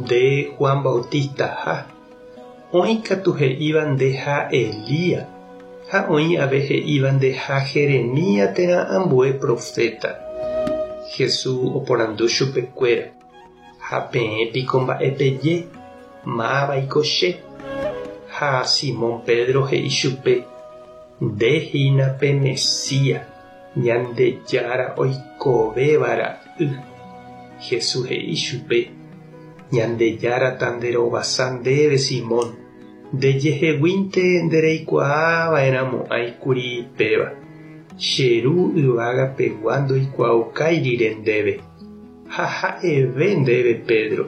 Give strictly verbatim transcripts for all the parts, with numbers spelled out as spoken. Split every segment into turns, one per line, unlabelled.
nde Juan Bautistaha. Oĩ katu he'íva ndeha Elías, ha oĩ ave he'íva ndeha Jeremías térã ambue profeta. Jesús oporandu chupekuéra: Ha peẽ piko mba'e peje, mávaiko che? Ha Simón Pedro he'i chupe: Nde hína pe Mesías, Ñandejára oikovéva ra'y. Jesús he'i chupe: Ñandejára tanderovasa ndéve Simón, ndejeheguínte ndereikuaava'erãmo'ãikuri péva. Che ru yvagapegua ndoikuaaukáirire ndéve. Ha ha'eve ndéve Pedro,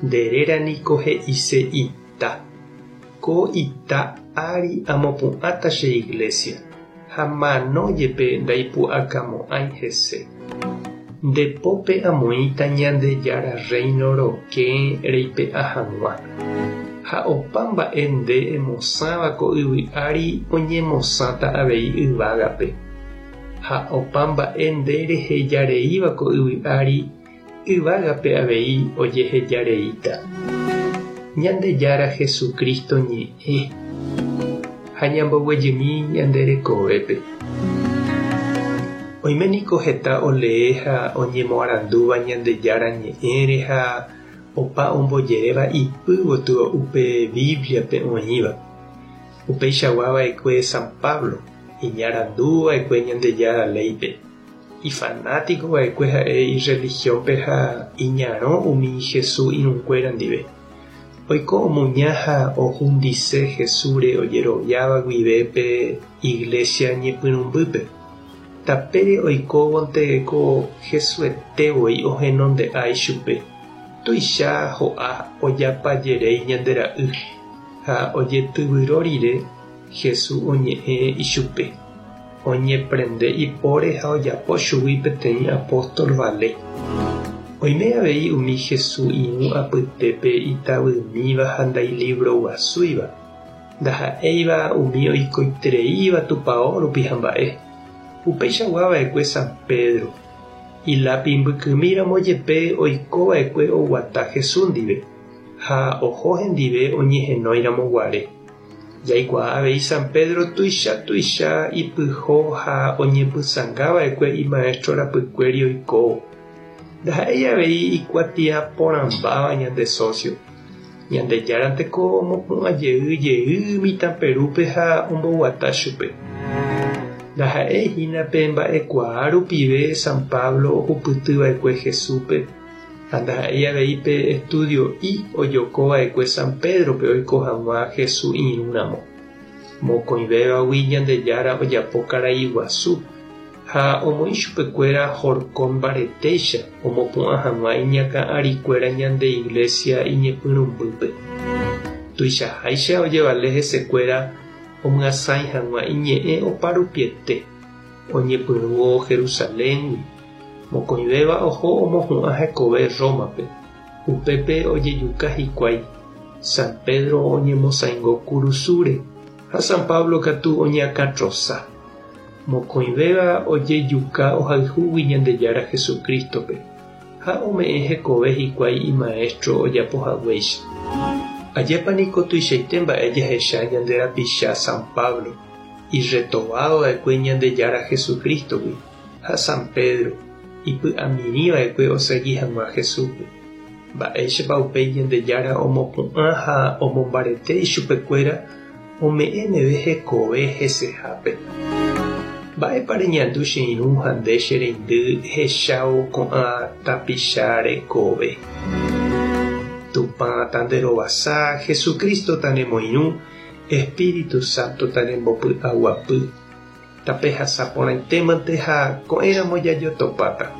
nde réra niko he'ise ita. Ko ita ári amopu'ãta che iglesia, ha mano jepe ndaipu'akamo'ãi hese. Nde pópe amoĩta Ñandejára reino rokẽ reipe'a hag̃ua. Ha opa mba'e nde emosãva ko yvy ári oñemosãta avei yvágape. Ha opa mba'e nde rehejareíva ko yvy ári yvágape avei ojehejareíta. Ñandejára Jesucristo ñe'ẽ ha ñamboguejymi ñande rekovépe. Oime niko heta olee ha oñemoarandúva Ñandejára ñe'ẽre ha opa ombojeréva ipy gotyo upe Bibliape oĩva. Upeichagua va'ekue San Pablo, iñarandúva'ekue Ñandejára léipe. Ifanático va'ekue ha'e ireligiónpe ha iñarõ umi Jesús irũnguéra ndive. Oiko omuña ha ohundise Jesúsre ojeroviáva guive pe iglesia ñepyrũmbýpe. Tapére oikóvonte ko Jesuete voi ohenonde'a ichupe. Tuicha ho'a ojapajeréi ñande ra'y ha ojetyvyro rire Jesús oñe'ẽ ichupe. Oñeprende ipóre ha ojapo chugui peteĩ apóstol vale. Oime avei umi Jesús irũ apytépe itavymíva ha ndailibroguasúiva, ndaha'éiva umi oikoitereíva tupão rupi hamba'e. Upeichagua va'ekue San Pedro. Ilápi mbykymíramo jepe oikova'ekue oguata Jesús ndive ha oho hendive oñehenóiramo guare. Jaikuaa avei San Pedro tuicha tuicha ipyho ha oñepysãngava'ekue imaestro rapykuéri oikóvo. Ndaha'éi avei ikuatia porãmbáva ñande socio. Ñandejáranteko omopu'ã jey jey mitã Perúpe ha omboguata chupe. Ndaha'éi pe mba'ekuaa rupive San Pablo ohupytyva'ekue Jesúspe ha ndaha'éi avei pe estudio'i ojokova'ekue San Pedrope oiko hag̃ua Jesús irũramo. Mokõivévagui Ñandejára ojapo karai guasu ha omoĩ chupekuéra horkõ mbaretéicha omopu'ã hag̃ua iñakã arikuéra ñande iglesia iñepyrũmbýpe. Tuichaháicha ojevale hesekuéra omyasãi hag̃ua iñe'ẽ oparupiete. Oñepyrũvo Jerusaléngui, mokõivéva oho omohu'ã hekove Rómape. Upépe ojejuka hikuái. San Pedro oñemosãingo kurusúre ha San Pablo katu oñeakãtrosa. Mokõivéva ojejuka ohayhúgui Ñandejára Jesucrístope ha ome'ẽ hekove hikuái imaestro ojapohaguéicha. Ajépa niko tuichaite mba'e jahecha ñande rapicha San Pablo, irretobado va'ekue Ñandejára Jesucrístogui, ha San Pedro, ipy'amirĩva'ekue osegi hag̃ua Jesúspe. Mba'éichapa upéi Ñandejára omopu'ã ha omombarete ichupekuéra ome'ẽ meve hekove hesehápe. Mba'épa reñandu che irũ ha nde che reindy hechávo ko'ã tapicha rekove. Tupã tanderovasa, Jesucristo tanemoirũ, Espíritu Santo tanembopy'aguapy. Tapehasa porãitémante ha ko'ẽramo jajotopáta.